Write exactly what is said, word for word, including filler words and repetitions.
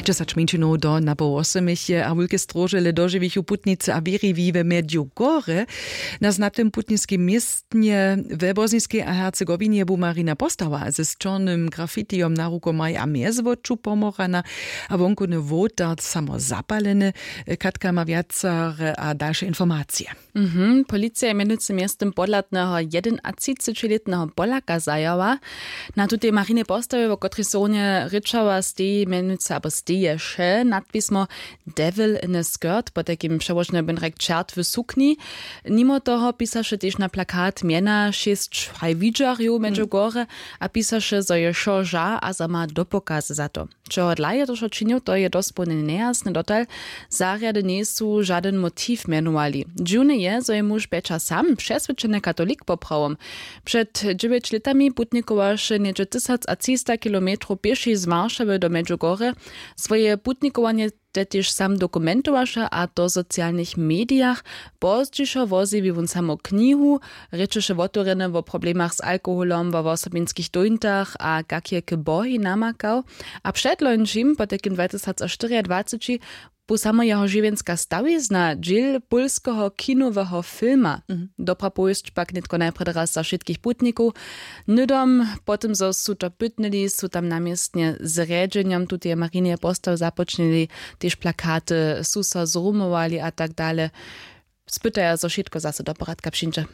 Dźesać mjeńšinow do napoł wosomich je a wulke stróžele dožiwichu putnicy a wěriwi we mjedźugorje. Na znatym putniskim městnje we bosniskej a hercegowinje bu marina postawa ze sćornym grafitijom na rukomaj a mjezwoču pomorana, a wonkowny wołtar samo zapaleny. Katka ma wjacere a dalše informacije. Mhm. Policija je mjenujcy mjeztym podhladneho jedenatřicećilětneho polaka zajała. Na tutej marinej postawje, wo kotrej so runje rěčała, steji mjenujcy abo steješe nadpismo devil in a skirt, potajkim přełožene byn rjek čert w sukni. Nimo toho pisaše tež na plakat mjena šěsć haj widźerjow mjeńdźe gore, a pisaše zo je wšo ža a zo ma dopokazy za to. Čehodla je to wšo činił, to je dospołnje nejasne dotal. Zarjady njejsu žadyn motiw mjenowali. Dźiwne je, zo je muž pjeća sam přeswědčeny katolik poprawom. Před dźewjeć lětami putnikowaše něhdźe tysacatřista kilometrow pěši z waršawy do mjeńdźe gore. Swoje putnikowanje te tež sam dokumentowaše, a to w socialnych medijach. Pozdźišo wozjewi wón samo knihu, rěčeše wotewrjene wo problemach z alkoholom wo wosobinskich dóńtach a kak je k bohej namakał. A předlońšim potajkim dwatysacštyriadwaceći bu samo jeho žiwjenska stawizna dźěl pólskeho kinoweho filma. Dobra powěsć pak nětko najprjedy raz za wšitkich putnikow. Hnydom po tym zo su to pytnyli, su tam na městnje z rjedźenjom tuteje marineje postawy započnili, tež plakaty su so zrumowali a tak dale. Spytaja zo wšitko zaso do poradka přińdźe.